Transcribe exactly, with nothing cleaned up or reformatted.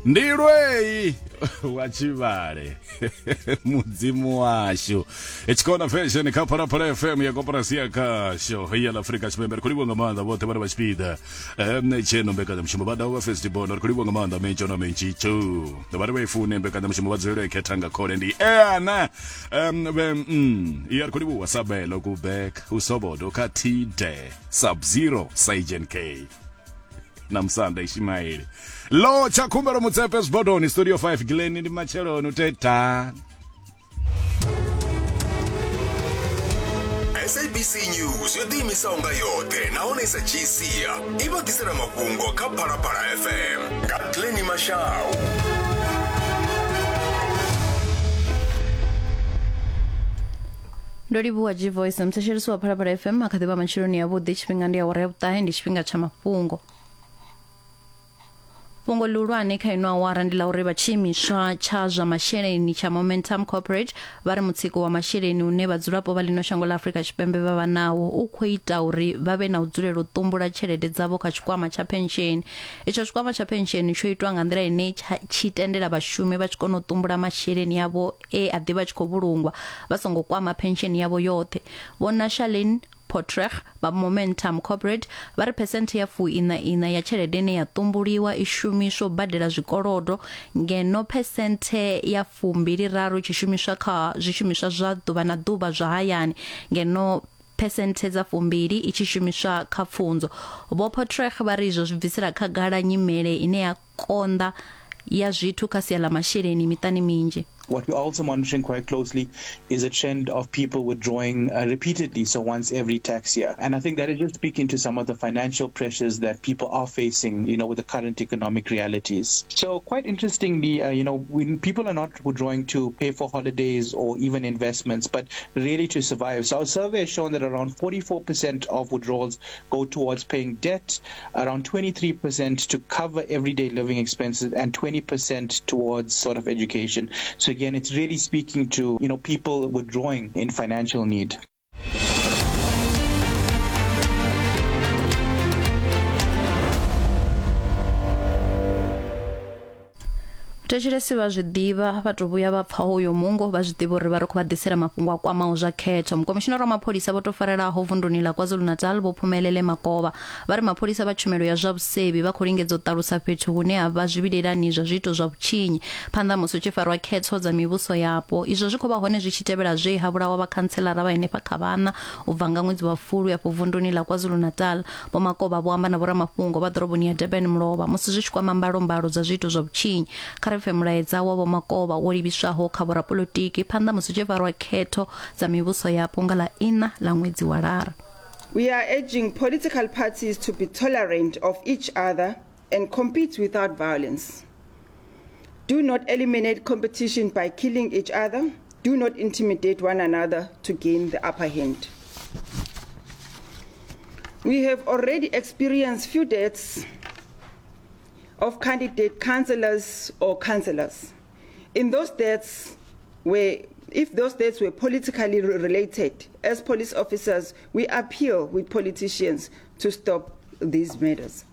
Ndi lwei wa tshivhale mudzimu washu. Tshikona Fashion kha Phalaphala F M ya koporasi ya khasho ya Afrika Tshipembe. Ri khou livhuwa nga maanḓa vhoṱhe vhane vha tshipiḓa tsheno mbekanyamushumo vha daho vha festival. Ri khou livhuwa nga maanḓa mentsho na mentshitsho vhane vha i fune mbekanyamushumo vha dzulele khetha nga khole ndi eana ya. Ri khou livhuwa Sabelo Kubek usobodo kha T-Day Sub Zero Sergeant K na Musanda Ishimaili lo tsha khumbelo Mutsepe Zwibodoni Studio five Glen ndi matsheloni uteta. S A B C News yo ḓiimisaho nga yoṱhe nahone sa G C i vha ḓisela mafhungo kha Phalaphala F M nga Glen Mashau. Ndo livhuwa G-Voice mthetshelesi wa Phalaphala F M akha ḓivha matsheloni ya vhuḓi. Tshifhinga ndi awara ya vhuṱahe, ndi tshifhinga tsha mafhungo. Fhungo ḽihulwane kha ino awara ndi ḽa uri vha tshiimiswa tsha zwa masheleni tsha Momentum Corporate vha ri mutsiko wa masheleni une vhadzulapo vha ḽino shango ḽa Afrika Tshipembe vha vha nawo u khou ita uri vha vhe na u dzulela u ṱumbula tshelede dzavho kha tshikwama tsha pensheni. Itsho tshikwama tsha pensheni tsho itwa nga nḓila ine tshi tendela vhashumi vha tshi kona u ṱumbula masheleni avho e a ḓivha tshi khou vhulungwa vha songo kwama pensheni yavho yoṱhe. Vho Nashalin Potrech vha Momentum Corporate vha ri phesenthe ya fuiṋa iṋa ya tshelede ine ya ṱumbuliwa i shumiswa u badela zwikolodo, ngeno phesenthe ya fumbili raru i tshi shumiswa kha zwishumiswa zwa ḓuvha na ḓuvha zwa hayani, ngeno phesenthe dza fumbili i tshi shumiswa kha pfunzo. Vho Potrech vha ri izwo zwi bvisela khagala nyimele ine ya konḓa ya zwithu kha sia ḽa masheleni miṱani minzhi. What we're also monitoring quite closely is a trend of people withdrawing uh, repeatedly, so once every tax year. And I think that is just speaking to some of the financial pressures that people are facing, you know, with the current economic realities. So quite interestingly, uh, you know, when people are not withdrawing to pay for holidays or even investments, but really to survive. So our survey has shown that around forty-four percent of withdrawals go towards paying debt, around twenty-three percent to cover everyday living expenses, and twenty percent towards sort of education. So again, it's really speaking to, you know, people withdrawing in financial need. Thetshelesi vha zwi ḓivha vha to vhuya vha pfa hoyo mungo vha zwi ḓivha uri vha ri khou vha ḓisela mafhungo a kwamaho zwa khetho. Mukomishinara wa mapholisa vho to farelaho vunduni ḽa KwaZulu-Natal Vho Phumelele Makovha vha ri mapholisa vha tshumelo ya zwa vhusevhi vha khou lingedza u ṱalusa fhethu hune ha vha zwivhilelani zwa zwiito zwa vhutshinyi phanḓa musi hu tshi farwa khetho dza mivhuso yapo. Izwo zwi khou vha hone zwi tshi tevhela zwe ha vhulawa vha khantselara vha henefha kha vhana u bva nga ṅwedzi wa Fulwi afho vunduni ḽa KwaZulu-Natal. Vho Makovha vho amba na vhoramafhungo vha ḓoroboni ya Durban mulovha musi zwi tshi kwama mbalombalo dza zwiito zwa vhutshinyi. Kha mulaedza wa Vho Makovha wo livhiswaho kha vhorapolotiki phanḓa musi tshi farwa khetho dza mivhuso yapo nga ḽa iṋa ḽa ṅwedzi wa Lara. We are urging political parties to be tolerant of each other and compete without violence. Do not eliminate competition by killing each other. Do not intimidate one another to gain the upper hand. We have already experienced few deaths of candidate councillors or councillors. In those deaths, where, if those deaths were politically related, as police officers, we appeal with politicians to stop these murders.